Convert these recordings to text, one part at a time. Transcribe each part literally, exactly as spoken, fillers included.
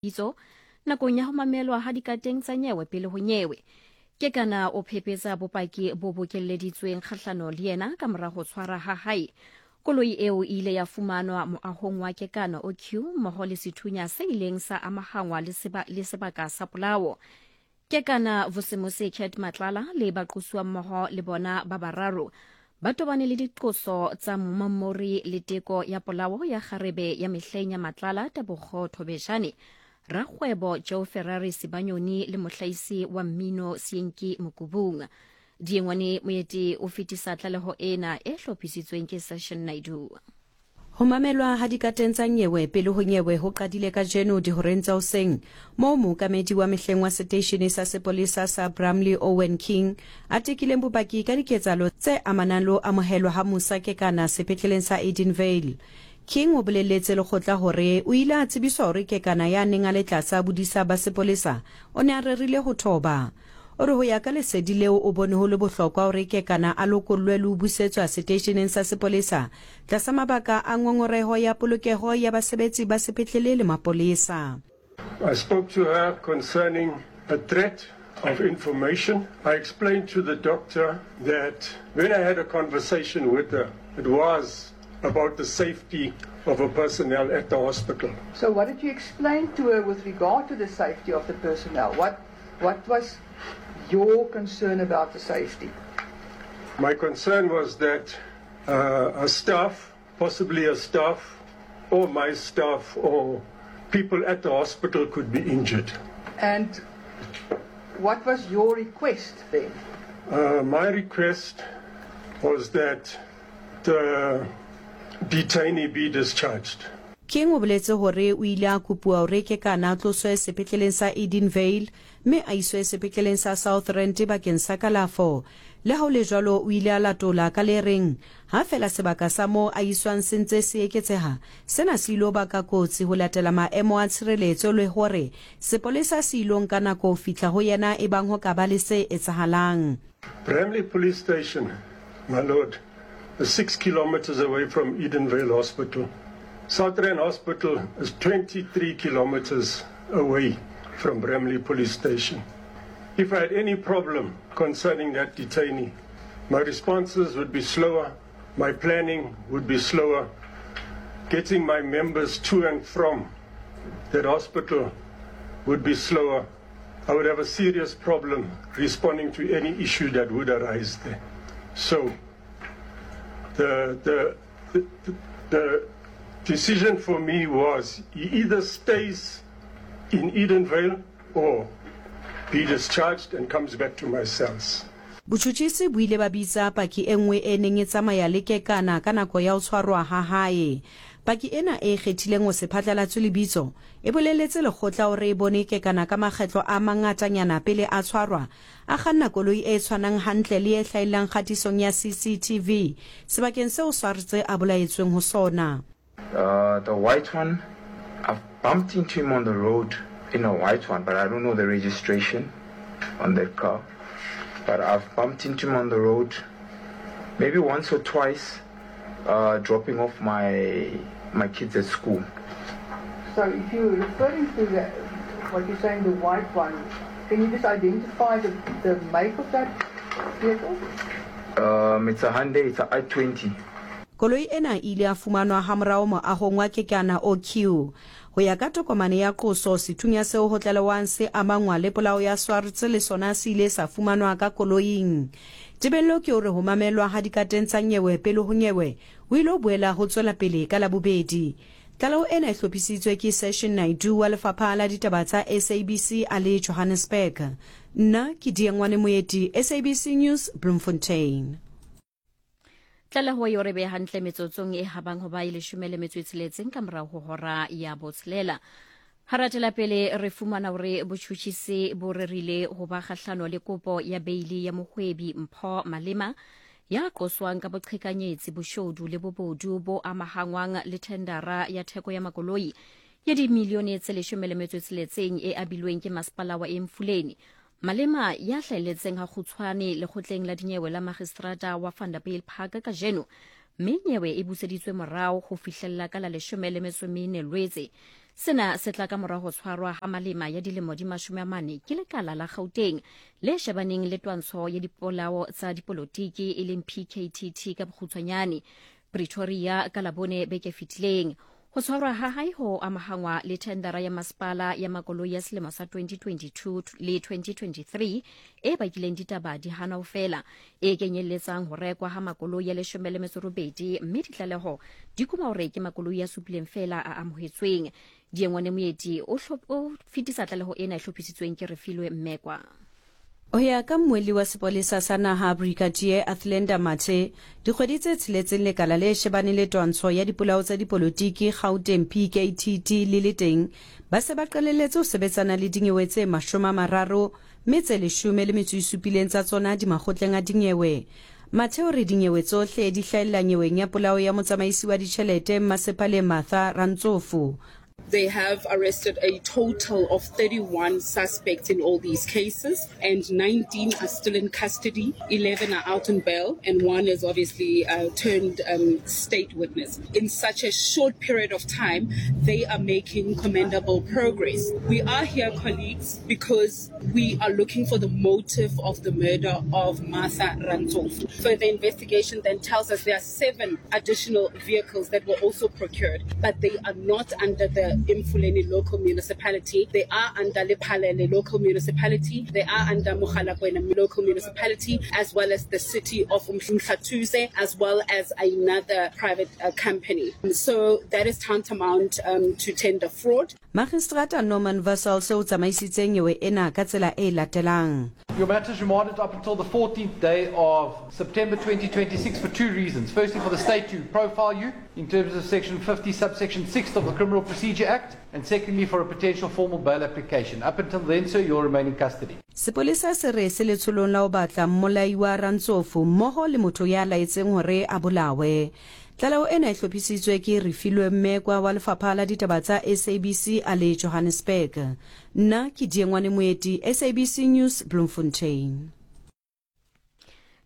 Bitso nakong ya ho mamelwa ha dikateng tsa nyewe pele ho nyewe. Kekana o phephetsa bopaki bo bokelleditsweng kgahlano le yena ka mora ho tshwara ha hae. Koloi eo e ile ya fumanwa moahong wa Kekana O Q mmoho le sethunya se ileng sa amahangwa le seba, le sebaka sa polao. Kekana Vusimusi Cat Matlala le baqosuwa mmoho le bona ba bararo ba tobane le diqoso tsa mommori le teko ya polao ya kgarebe ya mehleng ya Matlala Tebogo Thobejane, rakgwebo Joe Ferrari Sibanyoni le mohlaisi wa mmino Seenki Mokubung. Diengwane Moeti o fetisa tlaleho ena e hlophisitsweng ke Session Naidu. Ho mamelwa ha dikateng tsa nyewe pele ho nyewe ho qadile kajeno dihoreng tsa hoseng, moo mookamedi wa mehleng wa seteishene sa sepolesa sa Bramley Owen King a tekileng bopaki ka diketsahalo tse amanang le ho amohelwa ha Musa Kekana sepetleleng sa Edenvale. King o boleletse lekgotla hore o ile a tsebiswa hore Kekana ya neng a le tlasa bodisa ba sepolesa o ne a rerile ho thoba. O re ho ya ka lesedi leo o bone ho le bohlokwa hore Kekana a lokollwe le ho busetswa seteisheneng sa sepolesa tlasa mabaka a ngongoreho ya polokeho ya basebetsi ba sepetlele le mapolesa. I spoke to her concerning a threat of information. I explained to the doctor that when I had a conversation with her, it was about the safety of her personnel at the hospital. So what did you explain to her with regard to the safety of the personnel? What, what was your concern about the safety? My concern was that, uh, a staff, possibly a staff, or my staff, or people at the hospital could be injured. And what was your request then? Uh, my request was that the detainee be discharged. King o boletse hore o ile a kopuwa hore Kekana a tloswe sepetleleng sa Edenvale mme a iswe sepetleleng sa South Rand bakeng sa kalafo. Le ha ho le jwalo, o ile a latola ka le reng ha fela sebaka sa moo a iswang se ntse se eketseha, sena se ilo baka kotsi ho latela maemo a tshireletso le hore sepolesa se ilo nka nako ho fihla ho yena ebang ho ka ba le se etsahalang. Bramley Police Station, my lord, is six kilometers away from Edenvale Hospital. South Rand Hospital is twenty-three kilometers away from Bramley Police Station. If I had any problem concerning that detainee, my responses would be slower, my planning would be slower, getting my members to and from that hospital would be slower. I would have a serious problem responding to any issue that would arise there. So the, the, the, the decision for me was he either stays in Edenvale or be discharged and comes back to my cells. Botjhutjhisi bo ile ba bitsa paki e nngwe e neng e tsamaya le Kekana ka nako ya ho tshwarwa ha hae. Paki ena e kgethileng ho se phatlalatswe lebitso e boleletse lekgotla hore e bone Kekana ka makgetlo a mangatanyana pele a tshwarwa, a kganna koloi e tshwanang hantle le e hlahellang kgatisong ya C C T V sebakeng seo Swartz a bolaetsweng ho sona. Uh, the white one, I've bumped into him on the road in a white one, but I don't know the registration on that car. But I've bumped into him on the road maybe once or twice, uh, dropping off my, my kids at school. So if you're referring to the, what you're saying, the white one, can you just identify the, the make of that vehicle? Um, it's a Hyundai, it's a i twenty. Koloi ena e ile ya fumanwa hamorao moahong wa Kekana O Q. Ho ya ka tokomane ya qoso, sethunya seo ho tlalewang se amangwa le polao ya Swartz le sona se ile sa fumanwa ka koloing. Tebello ke hore ho mamelwa ha dikateng tsa nyewe pele ho nyewe ho ile ho boela ho tswela pele ka Labobedi. Tlaleho ena e hlophisitswe ke Session Naidu wa Lefapha la Ditaba tsa S A B C a le Johannesburg. Nna ke Diengwane Moeti, S A B C News, Bloemfontein. Tlaleho eo re beha hantle metsotsong e habang ho ba e leshome le metso e tsheletseng ka morao ho hora ya botshelela. Ha re atela pele re fumana hore botjhutjhisi bo rerile ho ba kgahlano le kopo ya beili ya mohwebi Mpho Malema ya qoswang ka boqhekanyetsi, boshodu le bobodu bo amahangwang le thendara ya theko ya makoloi ya dimilione tse leshome le metso e tsheletseng e abilweng ke masepala wa Emfuleni. Malema ya hlahelletseng ha kgutshwane lekgotleng la dinyewe la magistrata wa Vanderbijlpark kajeno, mme nyewe e buseditswe morao ho fihlella ka la leshome le metso e mene Lwetse. Sena se tla ka mora ho tshwarwa ha Malema ya dilemo di mashome a mane ke lekala la Gauteng le shebaneng le twantsho ya dipolao tsa dipolotiki e leng P K T T ka bokgutshwanyane Pretoria ka Labone beke fetileng. Ho tshwarwa ha hae ho amahangwa le thendara ya masepala ya makoloi ya selemo sa twenty twenty-two le twenty twenty-three e bakileng ditaba di hana ho fela, e kenyelletsang ho rekwa ha makoloi ya leshome le metso robedi, mme ditlaleho di kuma hore ke makoloi a supileng fela a amohetsweng. Diengwane Moeti o o fetisa tlaleho ena e hlophisitsweng ke Refilwe Mmekwa. Ho ya ka mmuelli wa sepolesa sa naha Brigadier Athlenda Mathe, dikgwedi tse tsheletseng lekala le shebaneng le twantsho ya dipolao tsa dipolotiki Gauteng P K T T le le teng, ba se ba qalelletse ho sebetsana le dinyewe tse mashome a mararo mme tse leshome le metso e supileng tsa tsona di makgotleng a dinyewe. Mathe o re dinyewe tsohle di hlahella nyeweng ya polao ya motsamaisi wa ditjhelete Mmasepaleng Martha Rantsofu. They have arrested a total of thirty-one suspects in all these cases, and nineteen are still in custody, eleven are out on bail, and one is obviously uh, turned um, state witness. In such a short period of time, they are making commendable progress. We are here, colleagues, because we are looking for the motive of the murder of Martha Rantsofu. Further investigation then tells us there are seven additional vehicles that were also procured, but they are not under the Emfuleni local municipality. They are under Lephalale local municipality. They are under Mogalakwena local municipality, as well as the city of Umhlathuze, as well as another private uh, company. So that is tantamount um, to tender fraud. Magistrata Norman Vassal se o tsamaisitse nyewe ena ka tsela e latelang. Your matter is remanded up until the fourteenth day of September twenty twenty-six for two reasons. Firstly, for the state to profile you in terms of section fifty, subsection six of the Criminal Procedure Act, and secondly, for a potential formal bail application. Up until then, sir, you'll remain in custody. Sepolesa se re se letsholong la ho batla mmolai wa Rantsofu mmoho le motho ya laetseng hore a bolawe. Tlaleho ena e hlophisitswe ke Refilwe Mmekwa wa Lefapha la Ditaba tsa S A B C a le Johannesburg. Nna ke Diengwane Moeti, S A B C News, Bloemfontein.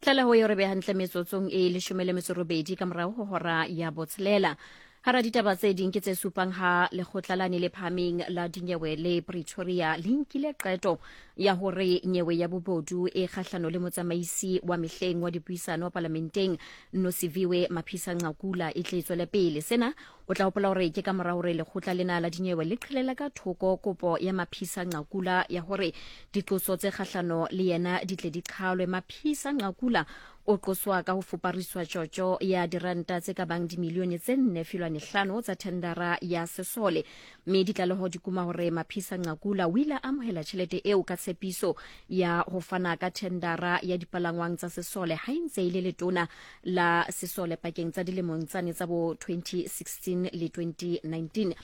Tlaleho e re beha hantle metsotsong e leshome le metso robedi ka morao ho hora ya botshelela. Hara ditaba tse ding ke tse supang ha lekgotla la le phahameng la dinyewe le Pretoria le nkile qeto ya hore nyewe ya bobodu e kgahlano le motsamaisi wa mehleng wa dipuisano parlamenteng Nosiviwe Mapisa Nqakula e tle tswele pele. Sena o tla hopola hore ke ka mora hore lekgotla lena la dinyewe le qhelela ka thoko kopo ya Mapisa Nqakula ya hore diqoso tse kgahlano le yena di tle di qhalwe. Mapisa Nqakula o qoswa ka ho fupariswa tjotjo ya diranta tse ka bang dimilione tse nne filwane hlano tsa thendara ya sesole, mme ditlaleho di kuma hore Mapisa Nqakula o ile a amohela tjhelete eo ka tshepiso ya ho fana ka thendara ya dipalangwang tsa sesole ha ntse ile letona la sesole pakeng tsa dilemong tsane tsa bo twenty sixteen le twenty nineteen.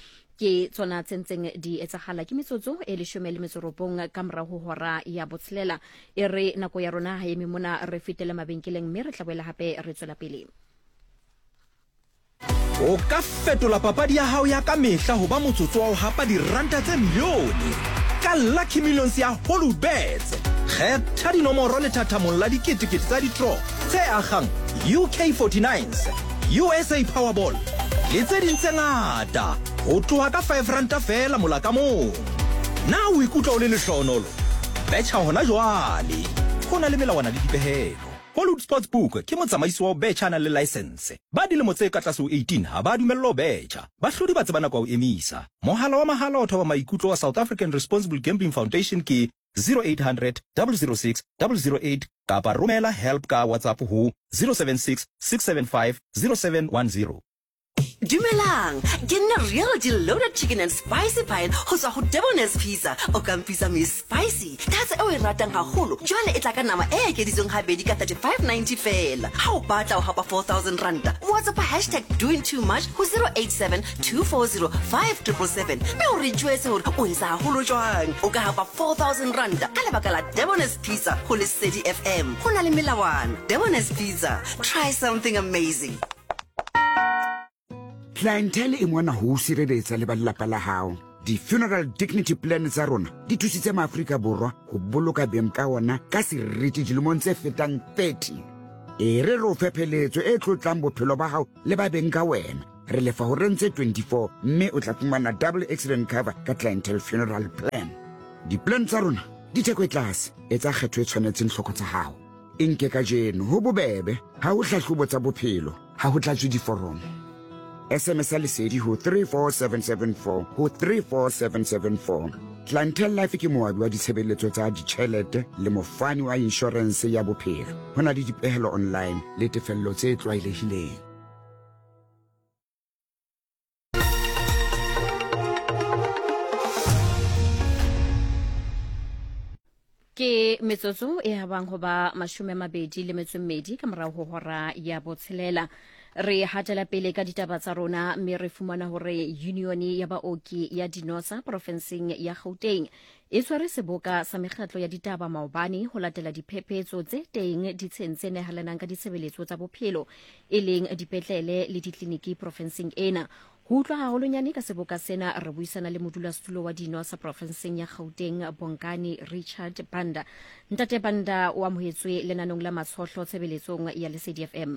Ke tsona tse ntseng di etsahala ke metsotso e leshome le metso robong ka mora ho hora ya botshelela. E re nako ya rona ha eme mona, re fetele mabenkeleng mme re tla boela hape re tswela pele. O ka fetola papadi ya hao ya ka mehla ho ba motsotso wa ho hapa diranta tse milione ka Lucky Millions ya Hollywoodbets. Kgetha dinomoro lethathamong la diketekete tsa ditro tse akgang U K forty-nines, U S A Powerball le tse ding tse ngata ho tloha ka five ranta fela mola ka mong. Na o ikutlwa o le lehlohonolo? Betjha hona jwale. Ho na le melawana le dipehelo. Hollywood Sportsbook ke motsamaisi wa ho betjha a nang le license. Ba dilemo tse ka tlase ho eighteen ha ba dumellwa ho betjha. Bahlodi ba tseba nako ya ho emisa. Mohala wa mahala wa thoba maikutlo wa South African Responsible Gambling Foundation ke zero eight hundred, double zero six, double zero eight kapa romela help ka WhatsApp ho zero seven six, six seven five, zero seven one zero. Dumelang, ke nna real loaded chicken and spicy pie ho tswa ho Debonair's Pizza. O ka mpitsa me spicy. Tatso e o e ratang haholo. Jwale e tla ka nama e ekeditsweng habedi ka thirty-five ninety fela. Ha o batla ho hapa four thousand ranta, WhatsApp hashtag doing too much ho zero eight seven, two four zero, five triple seven. Mme o re jwetse hore o etsa haholo jwang. O ka hapa four thousand ranta ka lebaka la Debonair's Pizza ho Lesedi F M. Ho na le melawana. Debonair's Pizza. Try something amazing. Clientele e mona ho sireletsa le ba lelapa la hao. Di-funeral dignity plan tsa rona di thusitse maAfrika Borwa ho boloka beng ka ona ka seriti dilemong tse fetang thirty. E re re o fe pheletso e tlotlang bophelo ba hao le ba beng ka wena. Re lefa horeng tse twenty-four mme o tla fumana double accident cover ka Clientele Funeral Plan. Di-plan tsa rona di theko e tlase, etsa kgetho e tshwanetseng tlhoko tsa hao. E nke kajeno ho bobebe, ha ho hlahlobo tsa bophelo, ha ho tlatswe diforomo. S M S ya Lesedi ho three four seven seven four ho three four seven seven four. Clientele Life ke moabi wa ditshebeletso tsa ditjhelete le mofani wa inshorense ya bophelo. Ho na le dipehelo online le tefello tse tlwaelehileng. Ke metsotso e habang ho ba mashome a mabedi le metso e mmedi ka morao ho hora ya botshelela. Re hatela pele ka ditaba tsa rona mme re fumana hore union ya baoki ya Dinosa profenseng ya Gauteng e tshwere seboka sa mekgatlo ya ditaba maobane ho latela diphephetso tse teng ditsheng tse nehelanang ka ditshebeletso tsa bophelo e leng dipetlele le ditleliniki profenseng ena. Ho utlwa haholonyane ka seboka sena re buisana le modulasetulo wa Dinosa profenseng ya Gauteng Bongani Richard Banda. Ntate Banda, o amohetswe lenanong la Matshohlo tshebeletsong ya Lesedi F M.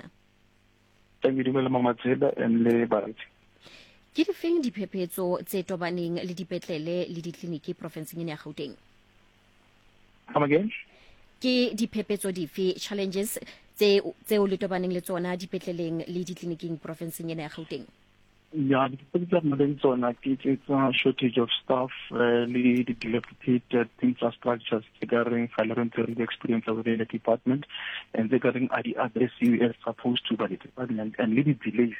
Thank you, dumela Mama Tsela and le baretsi. Ke difeng diphephetso tse tobaneng le dipetlele le ditleliniki profenseng ena ya Gauteng? Come again? Ke diphephetso dife, challenges tse tseo le tobaneng le tsona dipetleleng le ditleliniking profenseng ena ya Gauteng? Yeah, the tsona ke tsa shortage of staff, uh, le di dilapidated infrastructures tse ka reng ga le re ntse re experience within the department, and tse ka reng a di addressiwe as supposed to by the department, and le di delays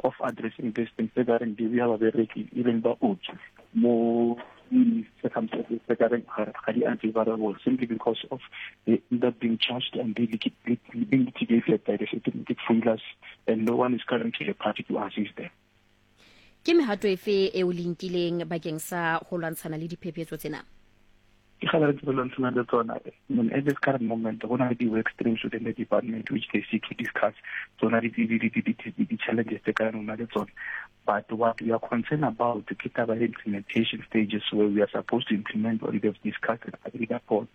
of addressing these things tse ka reng di beha babereki e leng baoki mo circumstances tse ka reng ga di unfavorable simply because of they end up being charged and being litigated by the systematic failures, and no one is currently a party to assist them. Ke mehato efe eo le nkileng bakeng sa ho lwantshana le diphephetso tsena? Ke gale re lwantshana le tsona. At this current moment, go na le di-work streams within the department which they seek to discuss tsona di-challenges tse ka rona le tsona. But what we are concerned about ke taba ya implementation stages where we are supposed to implement what we have discussed and agreed upon.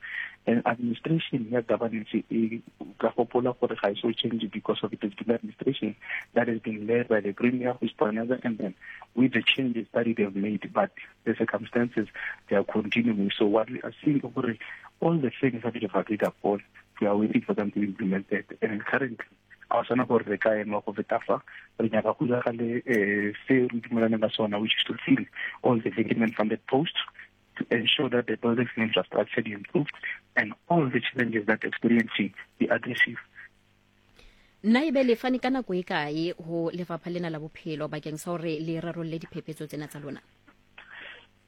And administration ya governance e ka gopola gore ga e so change because of it has been administration that has been led by the Premier, who is Panyaza, and then with the changes that they have made, but the circumstances they are continuing. So what we are seeing, all the things that we have agreed upon, we are waiting for them to implement it. And currently, a sana gore re ka ema go feta fa re nyaka go diragale se re dumelaneng ka sona, which is to fill all the vacant funded posts, to ensure that the buildings and infrastructure is improved and all the challenges that experiencing be addressed. Nna ebe le fane ka nako e kae ho lefapha lena la bophelo bakeng sa hore le rarolle diphephetso tsena tsa lona?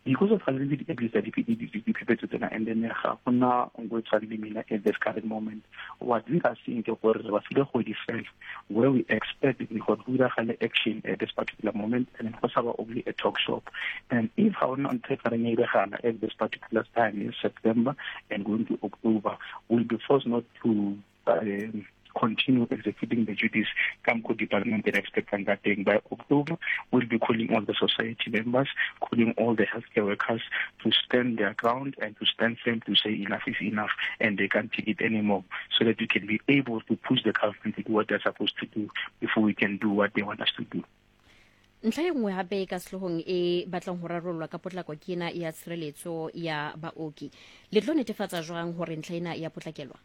Because of already diphephetso tsena, and then ga gona nngwe tshwane le mina at this current moment, what we are seeing ke gore re ba file kgwedi fela where we expect gore go diragale action at this particular moment, and then go sa ba only a talk shop. And if ga ona ntho e ka reng e iregana at this particular time in September and going to October, we'll be forced not to um, continue executing the duties Kamko department and expect that thing. By October, we'll be calling all the society members, calling all the healthcare workers to stand their ground and to stand firm to say enough is enough and they can't take it anymore, so that we can be able to push the government to do what they're supposed to do before we can do what they want us to do. Ntlha e nngwe hape ka sehloohong e batlang ho rarollwa ka potlako ke ena ya tshireletso ya baoki. Le tlo netefatsa jwang hore ntlha ena ya potlakelwa?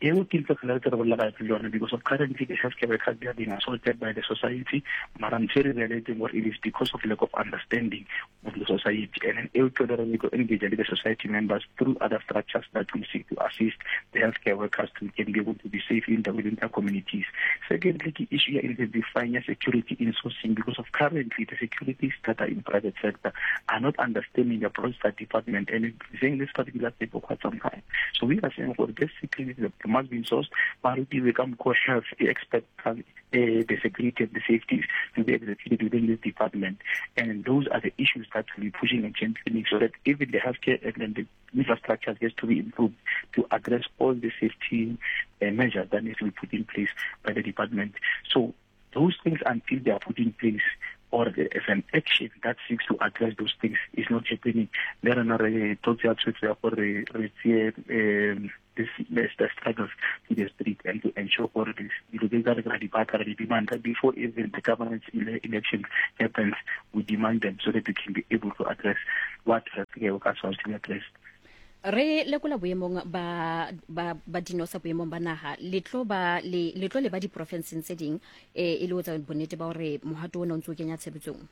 Eo ke ntho fela re bolela ka yona, because of currently the healthcare workers, they are being assaulted by the society. Mara ntho e re realizing what it is because of lack of understanding of the society, and then eo ke re go engage with the society members through other structures that will seek to assist the healthcare workers to can be able to be safe in the within their communities. Secondly, ke issue ya intensifying security insourcing, because of currently the securities that are in private sector are not understanding the process department, and it's saying this particular thing for quite some time. So we are saying for basically the must be sourced, but we become health expect uh, the security and the safety to be executed within this department. And those are the issues that we'll be pushing and championing, so that even the healthcare and then the infrastructure gets to be improved to address all the safety uh, measures that need to be put in place by the department. So those things, until they are put in place, or if an action that seeks to address those things is not happening, there are not a this, the struggles to the street and to ensure all this demand before even the governance election happens, we demand them so that we can be able to address what healthcare workers want to be addressed. Re lekola boemong ba ba ba dinosa boemong ba naha le tlo ba le le tlo le ba diprofenseng tse ding e e le ho tsa bonnete ba hore mohato ona o ntse o kenya tshebetsong.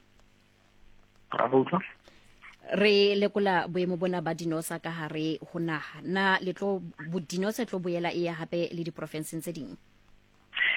Re lekola boemo bona ba dinosa ka hare ho naha, na le tlo dinosa tlo boela e ya hape le diprofenseng tse ding?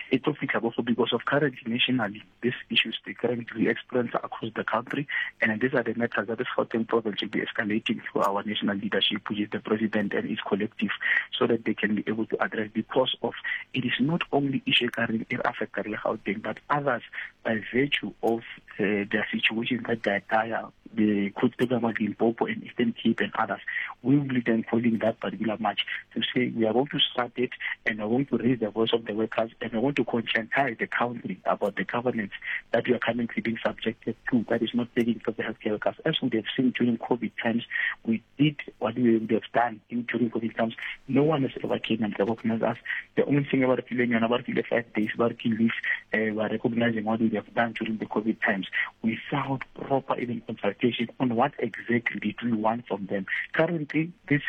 It will fix also because of currently nationally these issues they currently experience across the country, and these are the matters that the Gauteng province will be escalating through our national leadership, which is the president and his collective, so that they can be able to address, because of it is not only issue currently in Africa Gauteng, but others by virtue of uh, their situation that they are dire, the Kutega, Limpopo and Eastern Cape and others. We will be then calling that particular march to say we are going to start it, and we are going to raise the voice of the workers, and we want to conscientize the country about the governance that we are currently being subjected to, that is not taking for the healthcare workers. As we have seen during COVID times, we did what we would have done during COVID times. No one has ever came and recognized us. The only thing about feeling and about five days working leave, uh, we are recognizing what we have done during the COVID times without proper even consultation on what exactly did we want from them. Currently, this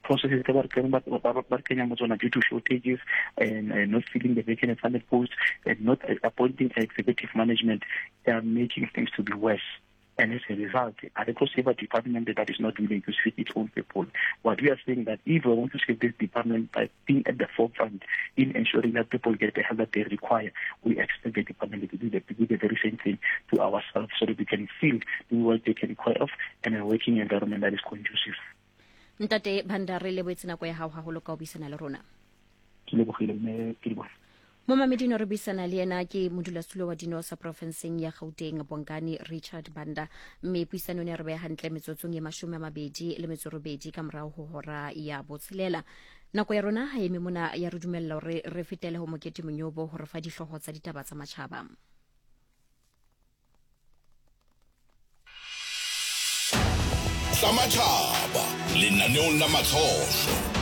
processes due to shortages and uh, not filling the vacant funded posts and not appointing executive management, they are making things to be worse. And as a result, a resource department that is not willing to save its own people. What we are saying that if we want to save this department by being at the forefront in ensuring that people get the help that they require, we expect the department to do the, to do the very same thing to ourselves so that we can feel we well taken care of and a working environment that is conducive. Ntate Banda, re lebohetse nako ya hao haholo ka ho buisana le rona. Ke lebohile mme ke leboha. Momamedi no re buisana le yena ke modulasetulo wa dinosa profenseng ya Gauteng, Bongani Richard Banda, mme puisano ne re beha hantle metsotsong e mashome a mabedi le metso robedi ka morao ho hora ya botshelela. Nako ya rona ha eme mona ya re dumella hore re fetele ho Mokete Monyobo hore fa dihlooho tsa ditaba tsa matjhaba. Tsa matjhaba lenaneong la Matlhohlo.